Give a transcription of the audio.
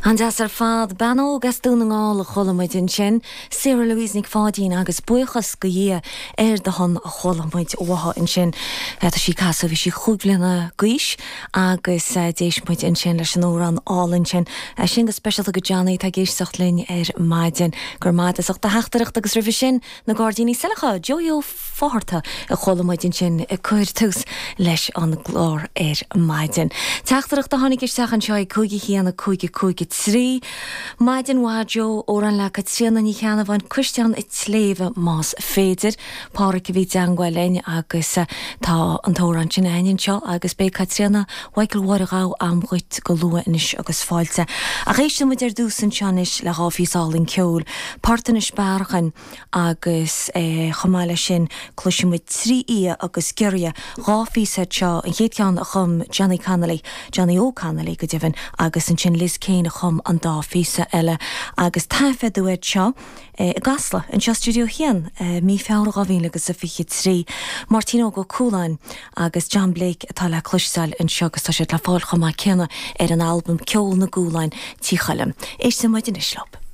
An-deas ar fad. Bean óg as Dún na nGall a chuala muid ansin, Sarah Louise Nic Pháidín agus buíochas go Dhia ar do shon a chuala muid uaithi ansin. Tá sí ag casadh, bhí sí chúig bhliana d'aois agus d'éist muid ansin leis an amhrán álainn sin. Sin go speisialta go Johnny atá ag éisteacht linn ar maidin. Go raibh maith agat as ucht do theachtaireacht agus roimhe sin Na Gairdíní Saileacha, Joey Ó Fátharta a chuala muid ansin ag cur tús leis an gclár ar maidin. Teachtaireacht a tháinig isteach anseo ag 5 1 5 5 3. Maidin mhaith Joe, amhrán le Caitríona Ní Cheannabháin, Cuisleán a' tSléibhe más féidir. Pádhraic a bhí i dteangmháil linn agus tá an t-amhrán sin againn anseo agus beidh Caitríona Mhichael Mháire Ghabha a'm dhuit go luath anois agus fáilte. Ach éisteann muid ar dtús anseo anois le dhá phíosa álainn ceoil, Port Inis Bearachain agus chomh maith leis sin cloisfidh muid Trí Fhia agus Giorria, dhá phíosa iad seo, an chéad cheann a chum Johnny Connolly, Johnny Óg Connolly go deimhin, agus ansin Liz Kane a chum an dá phíosa eile agus taifeadadh iad seo i gCasla, anseo i Stiúideo 1, mí Feabhra 2023. Máirtín Óg Ó Cualáin agus John Blake atá le cloisteáil anseo agus tá siad le fáil chomh maith céanna ar an albam Ceol na gCualáin, Tí Choilm. Éisteann muid anois leo.